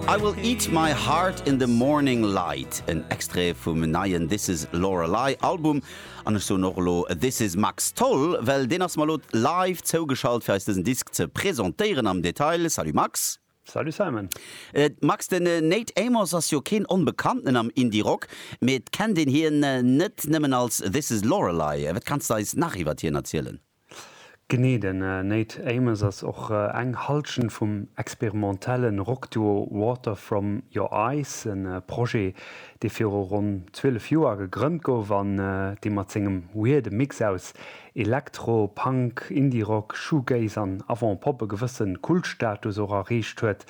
I will eat my heart in the morning light, en Extrait vum neien This Is Lorelei Album. An ech soen och elo This is Max Tholl, well deen ass mer elo live zougeschalt fir eis dësen Disk ze presentéieren am Detail. Salut Max. Salut Simon. Max, den Nate Amos ass jo keen Onbekannten am Indie-Rock, mee et kennt een hien net nëmmen als This Is Lorelei. Wat kanns de eis nach iwwert hien erzielen? Genee, den Nate Amos ass och eng Hallschent vum experimentelle Rockduo Water From Your Eyes, e Projet, dee viru ronn 12 Joer gegrënnt gouf an dee mat sengem weirde Mix aus Elektro, Punk, Indie-Rock, Shoegaze an Avant-Pop e gewësse Kultstatus och erreecht huet.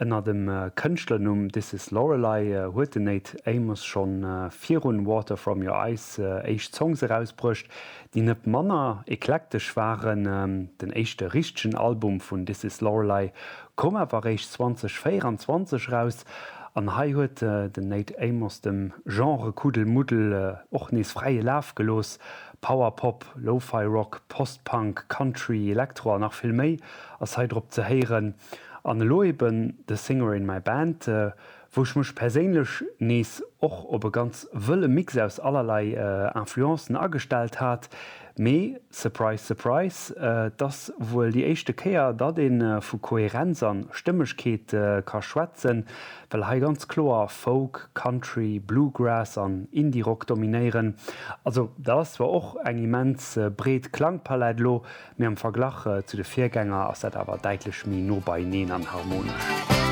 Ënner dem Kënschtlernumm This Is Lorelei huet den Nate Amos schonn virun Water From Your Eyes éischt Songs erausbruecht, déi net manner eklektesch waren. Den éischte richtegen Album vun This Is Lorelei koum awer eréischt 2024 eraus an hei huet den Nate Amos dem Genre-Kuddelmuddel och nees fräie Laf gelooss. Power-Pop, Lo-Fi-Rock, Post-Punk, Country, Elektro an nach vill méi ass hei drop ze héieren. An elo eben The Singer In My Band, wou ech mech perséinlech nees och op e ganz wëlle Mix aus allerlei Influencen agestellt hat, mee surprise surprise, et ass wuel déi éischte Kéier, datt ee vu Kohärenz an Stëmmegkeet ka schwätzen, well hei ganz kloer Folk, Country, Bluegrass an Indie-Rock dominéieren. Also dat ass zwar och eng immens breet Klangpalett elo, Mee am Verglach zu de Virgänger ass dat awer däitlech méi no beieneen an harmonesch.